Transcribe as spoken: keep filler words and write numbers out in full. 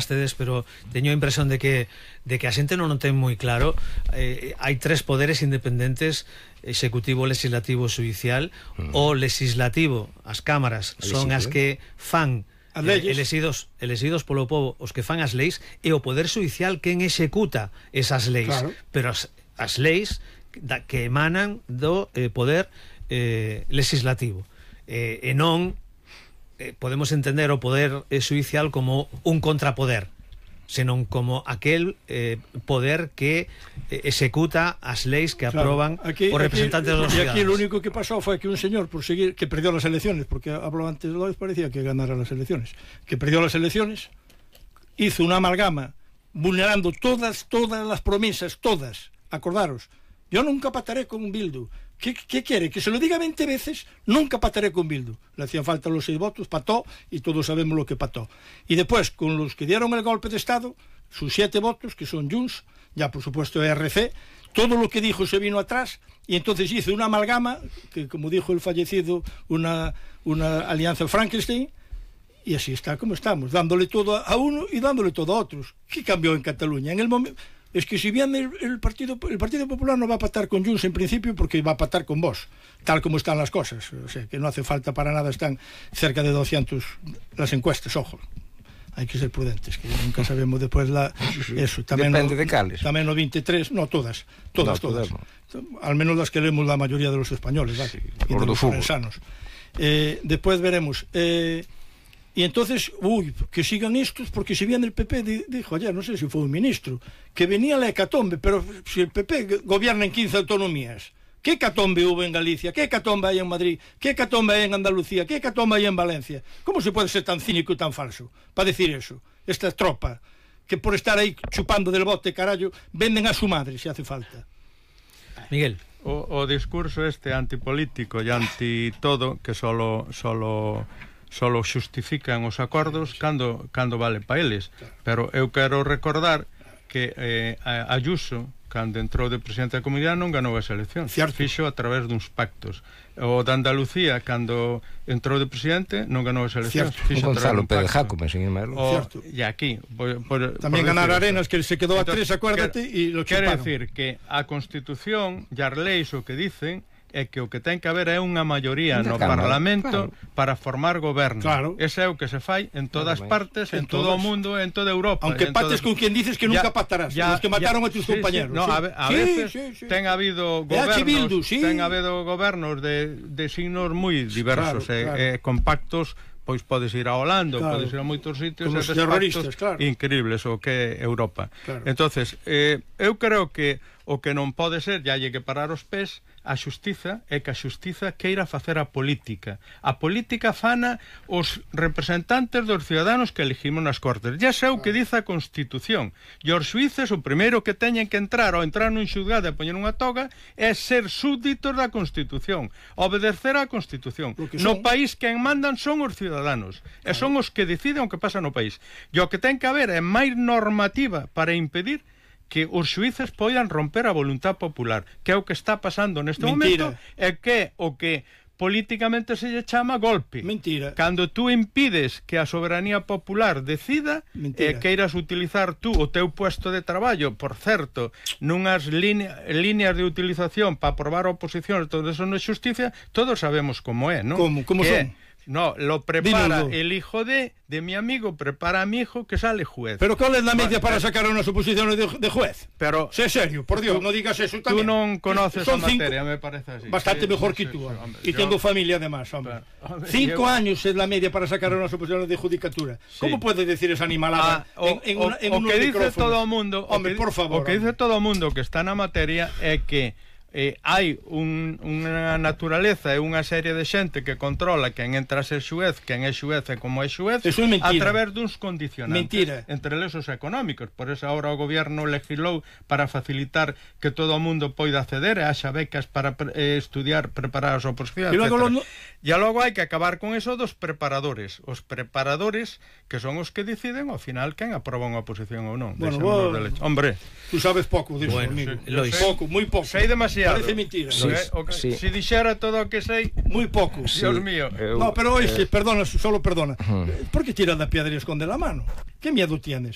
vostedes, pero teño a impresión de que de que a xente non o ten moi claro. Eh, hai tres poderes independentes: executivo, legislativo e judicial. Mm. O legislativo, as cámaras, son as que fan eh, elegidos, elegidos polo povo, os que fan as leis, e o poder judicial quen executa esas leis. Claro. Pero as, as leis da, que emanan do eh, poder eh, legislativo. Eh, e non eh, podemos entender o poder eh, judicial como un contrapoder, senón como aquel eh, poder que eh, executa as leis que aproban, claro, aquí, os representantes aquí, dos ciudadanos. E aquí lo único que pasou foi que un señor, por seguir, que perdió las elecciones, porque habló antes de Lois, parecía que ganara las elecciones, que perdió las elecciones, hizo una amalgama vulnerando todas, todas las promesas, todas, acordaros. Yo nunca pataré con un Bildu. ¿Qué, ¿Qué quiere? Que se lo diga veinte veces. Nunca pataré con Bildu. Le hacían falta los seis votos, pató, y todos sabemos lo que pató. Y después, con los que dieron el golpe de Estado, sus siete votos, que son Junts, ya por supuesto R C, todo lo que dijo se vino atrás, y entonces hizo una amalgama, que como dijo el fallecido, una, una alianza Frankenstein, y así está como estamos, dándole todo a uno y dándole todo a otros. ¿Qué cambió en Cataluña? En el momento... Es que si bien el, el, partido, el Partido Popular no va a pactar con Junts en principio, porque va a pactar con vos, tal como están las cosas, o sea, que no hace falta para nada, están cerca de doscientos las encuestas, ojo, hay que ser prudentes, que nunca sabemos después la, eso, tamén depende no, de cales, tamén no veintitrés, no, todas, todas, no, todas, no. Al menos las que leemos la mayoría de los españoles, ¿vale? Sí, y de los forensanos. Eh, después veremos... Eh, y entonces, uy, que sigan estos, porque si bien el P P di, dijo ayer, no sé si fue un ministro, que venía la hecatombe, pero si el P P gobierna en quince autonomías, ¿qué hecatombe hubo en Galicia? ¿Qué hecatombe hay en Madrid? ¿Qué hecatombe hay en Andalucía? ¿Qué hecatombe hay en Valencia? ¿Cómo se puede ser tan cínico y tan falso para decir eso? Esta tropa, que por estar ahí chupando del bote, carallo, venden a su madre, si hace falta. Miguel. O, o discurso este antipolítico e anti todo, que solo... solo... solo xustifican os acordos cando, cando vale para eles, pero eu quero recordar que eh, Ayuso, cando entrou de presidente da comunidade, non ganou as eleccións, fixo a través duns pactos. O de Andalucía, cando entrou de presidente, non ganou as eleccións, fixo a través dun pacto. E aquí por, por, tamén por ganar Arenas, que se quedou a tres, acuérdate, e lo chuparon. Quere decir que a Constitución e as leis o que dicen é que o que ten que haber é unha maioría no Parlamento, claro, para formar goberno. Claro. Ese é o que se fai en todas partes, en, en todo o mundo, en toda Europa. Aunque pates todo... con quien dices que ya, nunca pactarás, ya, los que mataron ya, a tus sí, compañeros. Sí, no, sí. a, a sí, veces sí, sí. ten habido gobernos, Bildu, sí. ten habido gobernos de, de signos moi diversos, claro, e, claro. e compactos. Pois podes ir a Holanda, claro, podes ir a moitos sitios, e terroristas, claro, increíbles o que é Europa. Claro. Entonces, eh, eu creo que o que non pode ser, ya hai que parar os pés, a xustiza, é que a xustiza queira facer a política. A política fana os representantes dos ciudadanos que elegimos nas Cortes. Ya sei o que dice a Constitución. E os xuíces, o primeiro que teñen que entrar ao entrar nun xulgado e poñer unha toga é ser súbditos da Constitución, obedecer á Constitución. No país quen mandan son os ciudadanos, e son os que deciden o que pasa no país. E o que ten que haber é máis normativa para impedir que os xuíces poidan romper a voluntad popular, que é o que está pasando neste Mentira. momento, e que o que políticamente se lle chama golpe. Mentira. Cando tú impides que a soberanía popular decida e eh, queiras utilizar tú o teu puesto de traballo, por certo, nunhas line, líneas de utilización para aprobar oposicións, todo eso non é justicia, todos sabemos como é, non? Como, como que son? No, lo prepara Dímelo. el hijo de, de mi amigo, prepara a mi hijo que sale juez. Pero ¿cuál es la media bueno, para sacar unas oposiciones de, de juez? Pero sé serio, por Dios, tú, no digas eso también. Tú non conoces Son a materia, cinco, me parece así. Bastante sí, mejor sí, que tú, sí, hombre, y yo, tengo familia además, hombre. Pero, hombre cinco yo, años es la media para sacar unas oposiciones de judicatura. Sí. ¿Cómo puedes decir esa animalada ah, o, en, en, una, en o, unos que dice todo o mundo, hombre, o que, por favor. O que hombre. dice todo o mundo que está na materia é que Eh, hai un, unha naturaleza e unha serie de xente que controla quen entra a ser xuez, quen é xuez e como é xuez, é a través duns condicionantes. Mentira. Entre eles económicos. Por eso ahora o goberno legislou para facilitar que todo o mundo poida acceder e haxa becas para eh, estudiar, preparar as oposicións, e logo, lo... e logo hai que acabar con eso dos preparadores. Os preparadores que son os que deciden ao final quen aproba unha oposición ou non. Bueno, vos... Hombre, tú sabes pouco disso, bueno, amigo. Sí, Lois. Pouco, moi pouco. Sei demasiado. Parece mentira. Sí, ¿no? okay. sí. Si dixera todo o que sei, moi pouco. Sí. Dios mío. Eu, no, pero oíste, eh... perdona, solo perdona. Uh -huh. ¿Por qué tiras la piedra y esconde la mano? ¿Qué miedo tienes?